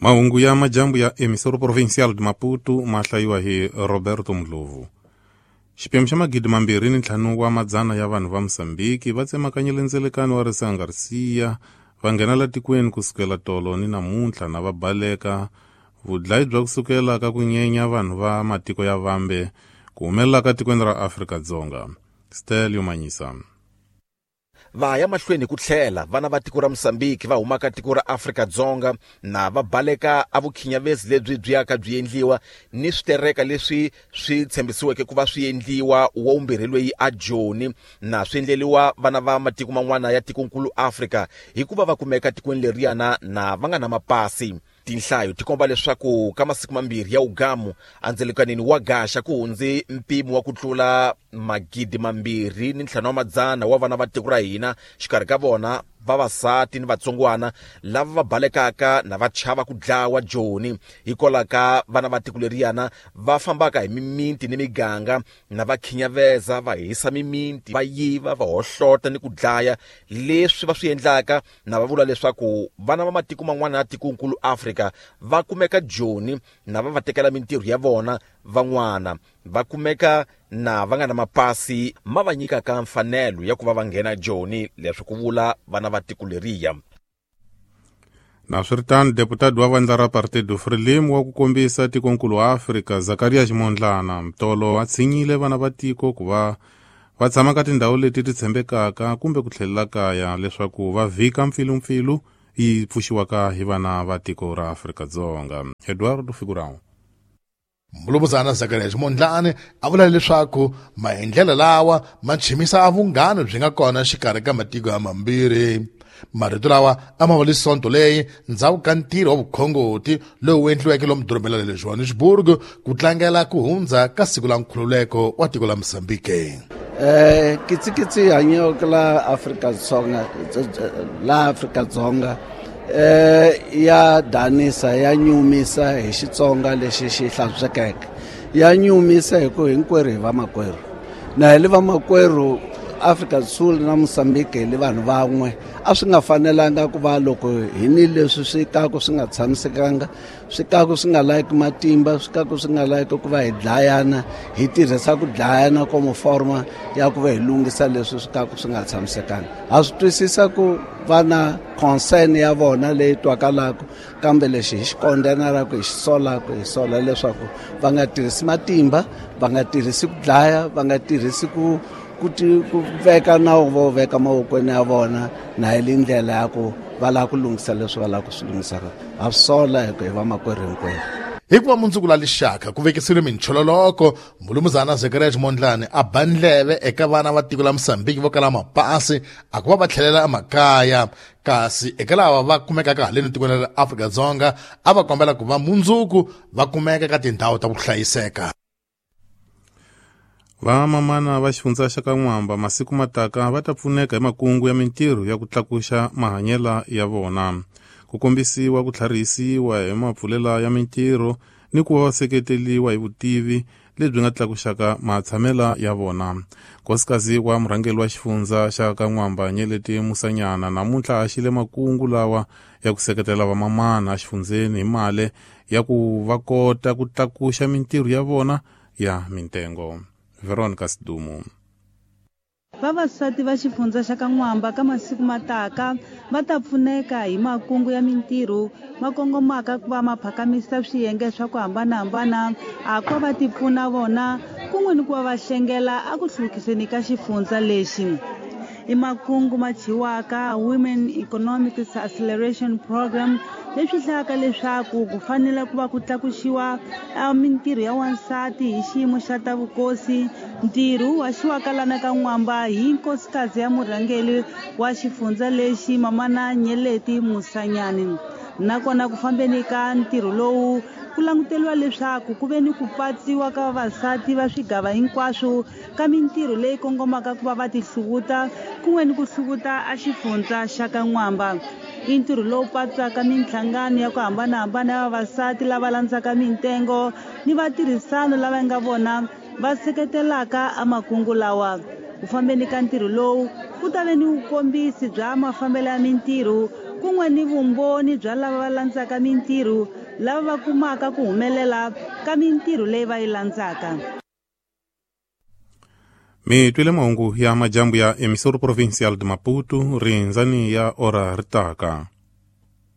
Mahungu ya majambu ya Emissora Provincial de Maputo ma hlayiwa hi Roberto Ndlovu. Xiphemu xa 2500 wa madzana ya vanhu va Mozambique va tsemakanyile ndzelekano wa Risiha Garcia va nghena la tikweni kusukela tolo ni namuntlha na va baleka vudlayi bya kusukela ka ku nyenya vanhu va matiko ya vambe ku humelela ka tikweni ra Afrika-Dzonga. Stelio Manyisa. Va ya mahlweni ku tlhela vana va tiko ra Mozambique va humaka tiko ra Afrika-Dzonga na va baleka a vukhinyavezi lebyi byi yaka byi endliwa ni switereka leswi swi tshembisiweke ku va swi endliwa wa vumbirhi loyi a Joni na swi endleliwa vana va matiko man'wana ya tikonkulu Afrika hikuva va kumeka tikweni leriyana na va nga na mapasi. Tinhlayo ti komba leswaku ka masiku mambirhi ya ugamu andzelekanini wa Gaxa ku hundze mpimo wa ku tlula 2500 wa vana va tiko ra hina, xikarhi ka vona vavasati ni vatsongwana lava va balekaka na va chava ku dlawa Joni hikwalaho ka vana va tiko leriyana va fambaka hi mimiti ni miganga na va khinyaveza, va hisa mimiti, va yiva, va hohlota ni ku dlaya. Leswi va swi endlaka na va vula leswaku vana va matiko man'wana ya tikonkulu Afrika va kumeka Joni na va va tekela mintirho ya vona, van'wana va kumeka na va nga na mapasi ma va nyikaka mfanelo ya ku va va nghena Joni, leswi ku vula vana va tiko leriya. Naswiritano, deputado wa vandla ra Partido Frelimo wa ku kombisa tikonkulu wa Afrika Zakaria Ximondlana Mtolo va tshinyile vana va tiko ku va va tshama ka tindhawu leti ti tshembekaka kumbe ku tlhelela kaya leswaku va vhika mpfilumpfilu yi pfuxiwaka hi vana va tiko ra Afrika-Dzonga. Eduardo Figurão. Mulumuzana Zakaria Ximondlane a vula leswaku maendlelo lawa ma chimisa vunghana byi nga kona xikarhi ka matiko ya mambirhi. Marito lawa a ma vuli Sonto leyi ndzhaku ka ntirho wa vukhongoti lowu endliweke lomu dorobeni ra le Johannesburg ku tlangela ku hundza ka siku la nkhululeko wa tiko la Mozambique. Kitsikitsi hanyeke la Afrika-Dzonga, la Afrika-Dzonga ya danisa, ya nyumisa hi Xitsonga lexi xi hlantswekeke, ya nyumisa hi ku hinkwerhu hi vamakwerhu, na hi le vamakwerhu Afrika Sul na Mozambique hi le vanhu van'we. A swi nga fanelanga ku va loko hi ni leswi swi kaku swi nga tshamisekanga, swi kaku swi nga layiki matimba, swi kaku swi nga layiki ku va hi dlayana, hi tirhisa ku dlayana komo forma ya ku va hi lunghisa leswi swi kaku swi nga tshamisekanga. Ha swi twisisa ku va na concern ya vona leyi twakalaka, kambe lexi hi xi kondenaka, hi xi solaka, hi sola leswaku va nga tirhisi matimba, va nga tirhisi ku dlaya, va nga tirhisi ku ku veka nawu vo veka mavokweni ya vona, na hi le ndlela ya ku va lava ku lunghisa leswi va lava ku swi lunghisaka. Ha swi sola hi ku hi vamakwerhu hinkwerhu. Hikuva mundzuku la lixaka ku vekisiwile minchololoko, Mulumuzana Zakaria Ximondlane a ba ndleve eka vana va tiko la Mozambique vo kala mapasi a ku va va tlhelela emakaya, kasi eka lava va kumekaka haleni tikweni ra Afrika-Dzonga a va kombela ku va mundzuku va kumeka ka tindhawu ta ku hlayiseka. Vamamana va xifundza xa ka N'wamba masiku mataka va ta pfuneka hi makungu ya mintirho ya ku tlakuxa mahanyela ya vona, ku kombisiwa ku tlharihisiwa hi mapfulela ya mintirho ni ku va va seketeliwa hi vutivi lebyi nga tlakuxaka matshamela ya vona. Nkosikazi wa murhangeri wa xifundza xa ka N'wamba Nyeleti Musanyana namuntlha a xile makungu lawa ya ku seketela vamamana exifundzeni hi mali ya ku va kota ku tlakuxa mintirho ya vona ya mintengo. Veronica Sidumo. Vavasati va xifundza xa ka N'wamba ka masiku mataka va ta pfuneka hi makungu ya mintirho ma kongomaka ku va ma phakamisa swiyenge swa ku hambanahambana, a ku va ti pfuna vona kun'we ni ku va va hlengela a ku hluvukiseni ka xifundza lexi. I makungu ma thyiwaka Women Economic Acceleration Program, leswi hlayaka leswaku ku fanele ku va ku tlakuxiwa mintirho ya wansati hi xiyimo xa ta vukosi. Ntirho wu haxiwaka lana ka N'wamba hi nkosikazi ya murhangeri wa xifundza lexi Mamana Nyeleti Musanyani. Nakona ku fambeni ka ntirho lowu ku languteriwa leswaku ku ve ni ku patsiwa ka vavasati va swigava hinkwaswo ka mintirho leyi kongomaka ku va va tihluvuta kun'we ni ku hluvuta a xifundza xa ka N'wamba. I ntirho lowu patsaka minhlangano ya ku hambanahambana ya vavasati lava landzaka mintengo ni vatirhisano lava nga vona va seketelaka a makungu lawa. Ku fambeni ka ntirho lowu ku ta ve ni vukombisi bya mafambelo ya mintirho, ku Kun'we ni vumbhoni bya lava va landzaka mintirho lava va kumaka ku humelela ka mintirho leyi va yi landzaka. Mi twile mahungu ya majambu ya Emissora Provincial de Maputo, rindzani ya ora ri taka.